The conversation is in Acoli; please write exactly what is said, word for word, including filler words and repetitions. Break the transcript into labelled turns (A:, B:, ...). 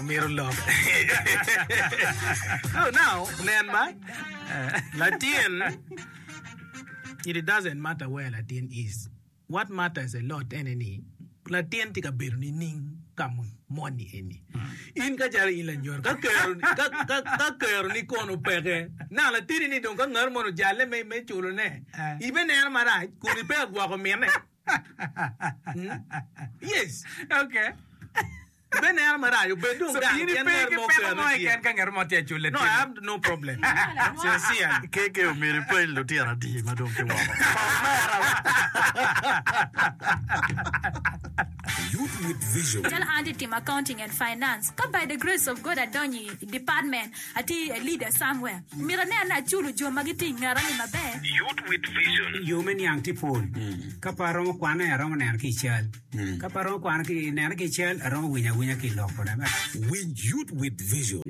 A: Mito lok. So now, nen ba, latin, it doesn't matter where latin is. What matters a lot ene ni, latin tye ka bedo nining ka moni eni. In ka calo in lanyodo, ka kero, ka, ka, ka kero ni kono peke, na latini ni dong ka ngat mono ojalle me, me culone, ibe neno marac, kun ipe agwoko mine. Hmm? Yes.
B: Okay.
A: Ibe neno marac, obed dong
B: So
A: gang,
B: in
A: pien
B: ipe
A: ngat
B: ki
A: mo
B: peko
A: kero
B: mo
A: tye.
B: keken ka ngat mo tye aculle
A: No, I have no problem. Sincerely.
C: Keke omyero ipeny lutino adi ma dong kiwoko.
D: Youth with Vision.
E: Calo an atye timo accounting and finance ka by the grace of God adonyo i department atye a leader somewhere myero anen ni aculo jo ma gitye i ngeta ni maber.
D: Youth with Vision.
F: Yo me niang tye pol. Ka pe aromo kwane, aromo neno ki i cal. Ka pe aromo kwano ki nene ki i cal, aromo winyo awinya ki i lok kode.
D: Winj Youth with Vision.